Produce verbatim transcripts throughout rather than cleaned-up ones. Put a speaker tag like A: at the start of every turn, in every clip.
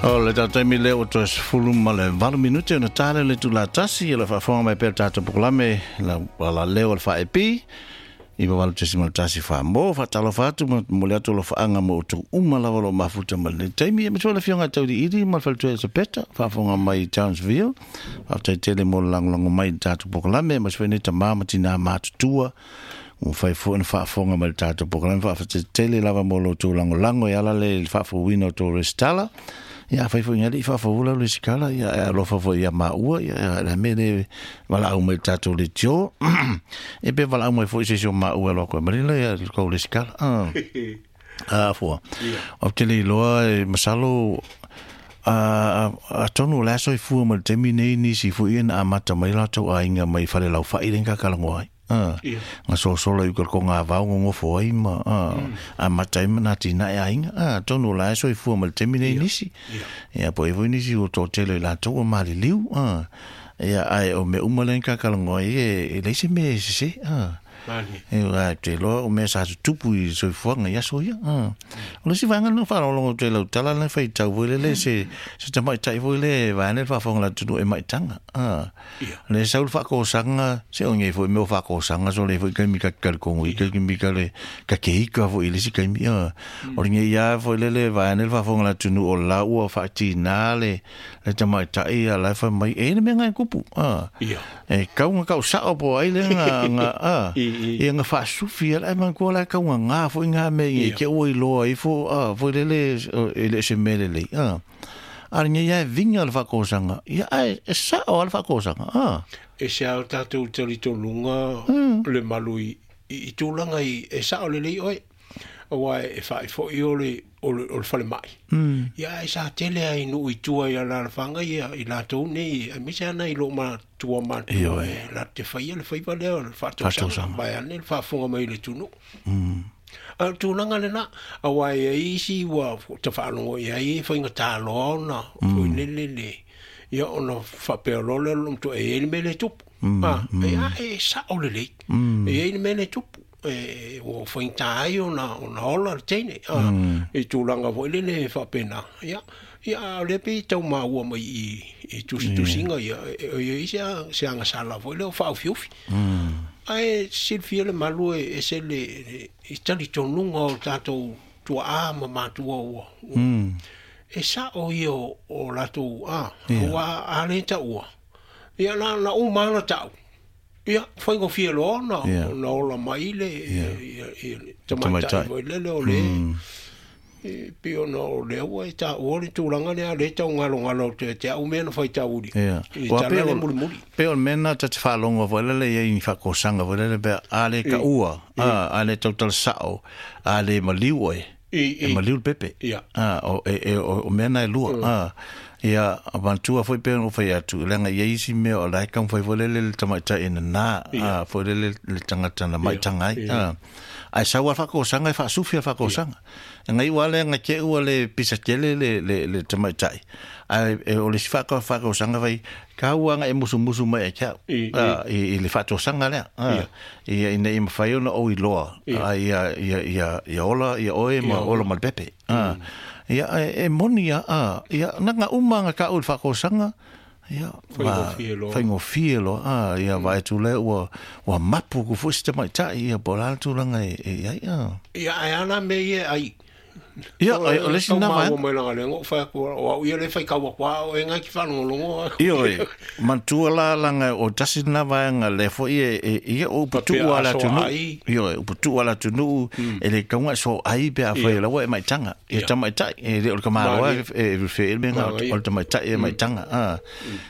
A: O le tatou le o toe sefulu ma le valu minute ona tale le itula tasi o le faafofoga mai pea le tatou polokalame la la leo o le faaepi i valu tesima tasi faa mo faatalofa atu ma momoli atu alofaaga mo outou uma lava o loo mafuta ma lenei taimi e matua le afioga Tauiliili ma le faletua Elisapeta faafofoga mai Townsville. Faafetai tele mo le lagolago mai i le tatou polokalame ma se foi nei tamā ma tinā matutua ua fai foi ona faafofoga mai le tatou polokalame. Faafetai tele lava mo lo outou lagolago e ala le faafouina o tou resitala. Ia afai foi ina le i faafoula le resitala, ia e alofa foi ia maua, ia le mea le valaau mai le tatou leitio e pe valaau mai foi se isi o maua e alo atu e malila ia le kou resitala. A fua ou te le iloa e masalo a atonu o le aso i fua ma le taimi nei nisi foi ia na amata mai latou aiga mai fale laufai le kakalagoa ai. Ah, nga sosola i ko ngā vau ngofo ai ma a mata ai mana tina e aiga. Ah, tonu la so i fua ma le taimi nei nisi. Ia po e foi nisi o tō tele i latou o maliliu. Ah, ia ai o me uma le kakalagoa ai e e leise me se se. Ah, e ua te loa o mea sa tutupu i soifuaga i aso ia. Ah. O le isi vaega lena faalogologo atu ai lau tala lena faitau foi lele se se tamaitai foi le vaeane le faafofoga le atunuu e maitaga. Ah. Le sau le faakosaga se o nei foi mea o faakosaga so le foi kaimi ka talitonu i kaimi ka le ka keika foi i le isi kaimi. Ah. O le nei ia foi lele vaeane le faafofoga le atunuu o la ua faatinā le le tamaitai ia la e fai mai e le mea ngai kupu. Ah. E kau nga kau sao po ai le nga nga ah. Ia nga faasufi ia lae manatua la e kaugagā foi ngā mea i ke ua iloa ifo a foi lele e le se mea lelei a a le nei e vinga le faakosaga ia ae e sao a le faakosaga a
B: E se ao tātou talitonuga le malu i, i, i tulaga i e sao lelei oe. Aua e faaifo'i o le o le o le falemai. Ia e sa tele ai nuu i tua i alaalafaga ia i latou nei aemaise ana i loo matua matua e latou te faia le faiva lea o le faatausaga vaeane le faafofoga mai i le atunuu. A o le tulaga lenā, auā e i ai isi ua tafaalogo i ai e faigata loa ona foi lele le ia ona faapea loa lea o le matua e i ai le mea lea e tupu. A, e a e sao lelei. E i ai le mea lea e tupu. E ua faigata ai ona ona ola le teine a i tulaga foi lele e faapena. Ia, ia a o lea pei e tau maua mai i i tusitusiga ia e i ai se se agasala foi lea o faaufiufi. Ae silafia le malu e ese le i talitonuga o tatou tuaa ma matua ua e sao ia o, o latou a ua a le taua. Ia na na uma lava ona tau. Ia, faigofie loa ona ona ola mai le ia ia le tamaitai foi lele o le e pei ona o lea ua e taua le tulaga lea lea e taugalogalo atu ia te au mea na faitauli i
A: Ua
B: tala
A: pei
B: le
A: o
B: mulimuli.
A: Pei o le mea lena ta te faalogo foi lele i ai ni faakosaga foi lele pea a le taua, a a le tautala sao, a le maliu oe, e maliu le pepe. A o e e o mea na e lua. A ia manatua foi pei ona ou fai atu, leaga e i ai isi mea o la e taumafai foi lele le tamaitai e nanā, a foi lele le tagata na maitaga ai. A ae sau lava le faakosaga e faasufi lava le faakosaga. E gaiua lava lea na te ua le pisa tele le le le tamaitai, ae o le isi faatosaga fai, tau lava na e musumusu mai ia te au i i le faatosaga lea, ia ina ia mafai ona ou iloa ia ia ia ia ola ia oe ma ola ma le pepe. Ia e moni lava, ia na na uma na taua i le faatosaga, ia faigofie loa, ia vaai atu lea ua ua mapu atu foi si tamaitai ia po o le a le tulaga e i ai.
B: Ia ae a la mea ia e ai?
A: Ia, o le isi
B: Tau
A: lena
B: maua
A: vaega.
B: mai langa lea na ou fai atu, o au ia lea e faitau atu a oe nai ki faalogologo atu.
A: Ioe, manatua la langa o tasi lena vaega lea foi e, e, ia o upu
B: Faapea
A: tuu a le
B: a soa
A: atunuu.
B: ai.
A: Ioe, upu tuu a le atunuu, e le tau so ai pe afai
B: Ia.
A: laua e maitaga. Ia
B: Ia.
A: tamaitai, e le o le kamaloa
B: Malie.
A: e e fe le mea
B: Manaia.
A: o le tamaitai e maitaga. Ah,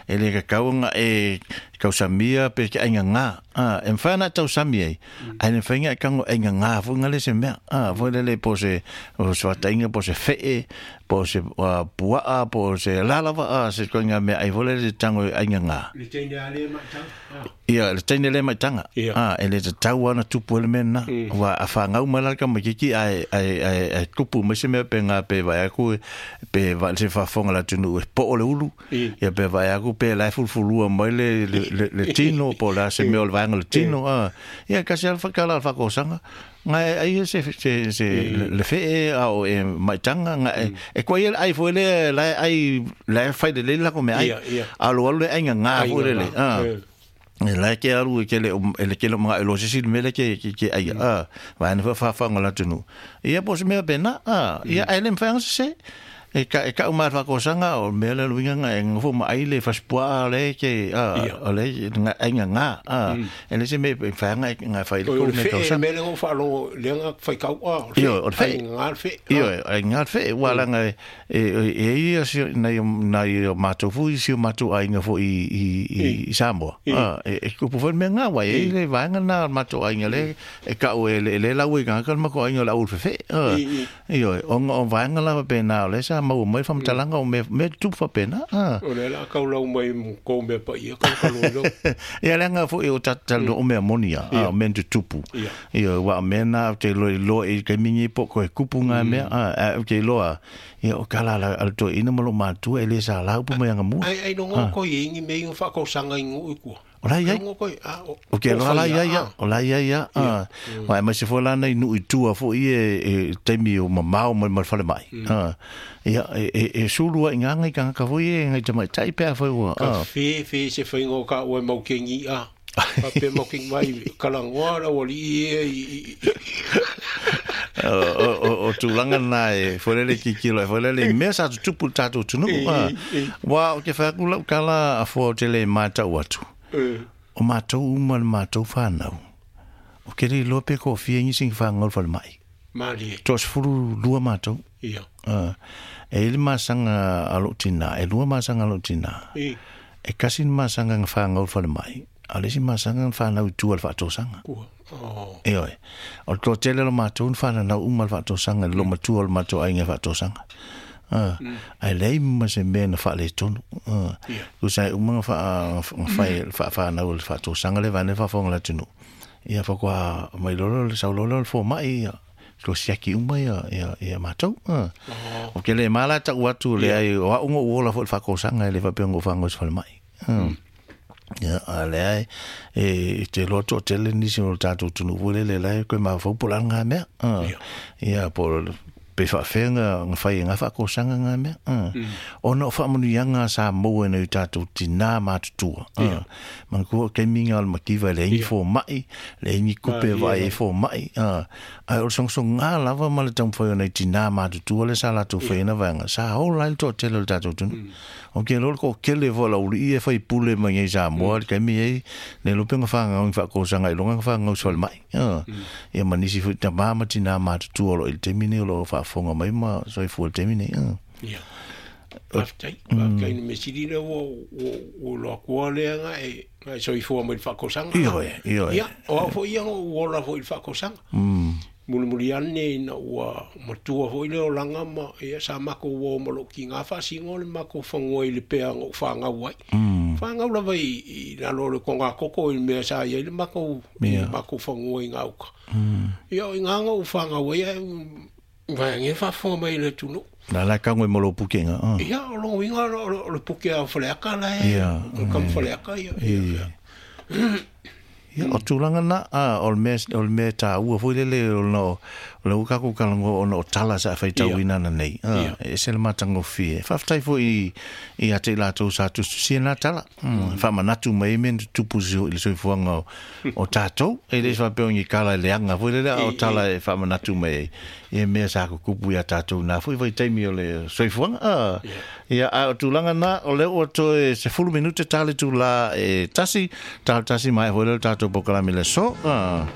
A: e le kakau nga e tausamia pe ke aiga ngā. Ah, e mawhai ana tausami ai. Ai le mawhai nga e kango aiga ngā fo nga le se mea. Ah, fo le le po se, o se watainga, po se whee, po se uh, puaa, po se lalava, ah, se koe ngā mea ai fo le le tango aiga ngā.
B: Le teine a le maitaga. Ah.
A: Ia, le teine le maitaga.
B: Ia.
A: Ah, e le tatau ana tupu ele mea na. Wa a whangau mai la ka makiki ai ai ai ai tupu mai se mea pe ngā pe vai aku pe vai se whafonga la tunu e po o le ulu.
B: I.
A: Ia pe vai aku pe lai fulfulua mai le le, le le tino po la se mea o le vaega o le tino a ia kasi ala whakala al whakosanga ngai ai se se se le fe a o e maitanga ngai e ko ia ai foi le la ai la fai le la ko me ai a lo le ai nga foi le a e la ke aru ke le le ke lo mga lo se si me le ke ke ke ai a va na fa fa ngola tunu ia pos me pena a ia ai le mfa se e ka e ka uma fa kosanga o me le luinga nga e ngofo ma ai le faspoa le ke a o le nga ai nga nga a e le se me fa nga nga fa ile ko me
B: ka me le fa lo le nga fa ka o
A: io o fe
B: nga fe
A: io ai nga fe wala nga e e ia si na na ma to fu si ma to ai nga fo i i i Samoa a e ko po me nga wa e le va nga na ma to ai nga le e ka o le le la we nga ka ma ko ai nga la u fe a io o o va nga la pe na le sa mau mai fam talanga o me me tu fa pena
B: a o le la ka lau mai ko me pa ia ka ka lo
A: ia le nga fo e o tata o me amonia a me tu tupu ia wa me na te lo lo e ke mingi po ko e kupu nga me a ke lo a ia o kala la al to ina mo lo matu e le sa la upu mai nga mu
B: ai ai no ko ingi me ingo fa ko sanga ingo ku
A: o la ia o ke lo la ia ia o la ia ia a wa ma se fo la nei nu i tua fo i e temi o mamao mai mal fale mai a ia e e sulu ai nganga ka ka fo i ngai tamai tai pe fo
B: a ka fe fe se fo ngo ka o mau ke ngi a pa pe mau ke mai kala ngoa la oli i
A: o o o tūlanga nā e forele ki kilo e forele mea sa tupu tātou tunu wa o ke whakula kala a fo te le mātau atu o mātou uma le mātou whānau o ke rei loa pe ko whia ngi singi whāngau whale mai
B: Mālie
A: Tō sefuru lua mātou
B: Ia
A: e ili māsanga a lo tina e lua māsanga a lo tina e kasi ni māsanga nga whāngau whale mai a lesi māsanga nga whānau i tua le whaatosanga
B: Kua Oh.
A: E oe, o tō tele lo mātou whāna nau uma le whaatosanga, lo matua lo mātou ai ngā whaatosanga. Uh, mm. Ai lei ma se mea na whaale tonu. Uh, yeah. Kusa uma ngā wha, wha, whānau le whaatosanga le vane whawhonga la tunu. Ia whakua mai lolo le saulolo le fō mai ia. Ko siaki uma ia, ia, ia mātou. Uh. Oh. O ke le mala tau atu le ai, o a ungo uola fo le whakosanga le whapengo whango se whale mai. Uh. Mm. Ia a le ai e te loa to tele nisi o tātou tunu vole le lai koe mawhau po lan ngā mea. Ia po pe whaawhenga ngā whai ngā whakosanga ngā mea. Ona o whaamanu ia ngā sa maua nei tātou tina mātutua. Mana kua kei minga o le makiva le ingi fō mai, le ingi kupe vai e fō mai. Ai o songsong ngā lava ma le taumwhai o nei tina mātutua le sa lātou whaina vaenga. Sa hau lai le toa tele o le tātou tunu. O ke lolo ko kele fo la uli e whai pule mai ngai sa moa le kaimi ei le lope nga whangau ngi whakosanga i longa nga whangau swale mai. Ia manisi fui ta mama tina mātutua lo i le temine o lo whaafonga mai ma soi fua le temine.
B: Ia. Whaftai, whaftai ni mesirina o o loa kua lea nga e ngai soi fua mai le whakosanga.
A: Io e, io e.
B: Ia, o au fo ia o ola fo i le whakosanga. Muli ane ina ua matua foi le o langa ma ia sa mako ua ma lo ki ngā whasingo le mako whangoa i le pea ngō whangau ai.
A: Mm.
B: Whangau lava i, i nalo le ko ngā koko i mea sa ia i le mako,
A: yeah.
B: I mako whangoa i ngā uka.
A: Mm.
B: Ia i ngā ngō whangau ai, vai nge whawhonga mai le tunu.
A: La la kangwe mo lo pukenga. Uh.
B: Ia, o longo inga o lo, lo puke a whaleaka la e.
A: Ia.
B: O kam whaleaka ia.
A: Ia. Ia, o tūlanga na, a, o le mea, o le mea tā ua foi lele, o no, o le ukaku kalango o no tala sa whai tau inana nei. A, e se le matango fie. Whaftai fo i, i a te lātou sa tustusia nā tala. Mm. Whamanatu mai men tupu si ho i le soifuanga o, o tātou. E le whapeo ngi kala e leanga foi lele, o tala e whamanatu mai e. E mea sa kukupu i a tātou nā foi vai taimi o le soifuanga. A, ia, a o tūlanga nā, o le o toe se fulu minute tāle tū la e tasi, tāle tasi mai foi lele tātou pokalami le so. Ah.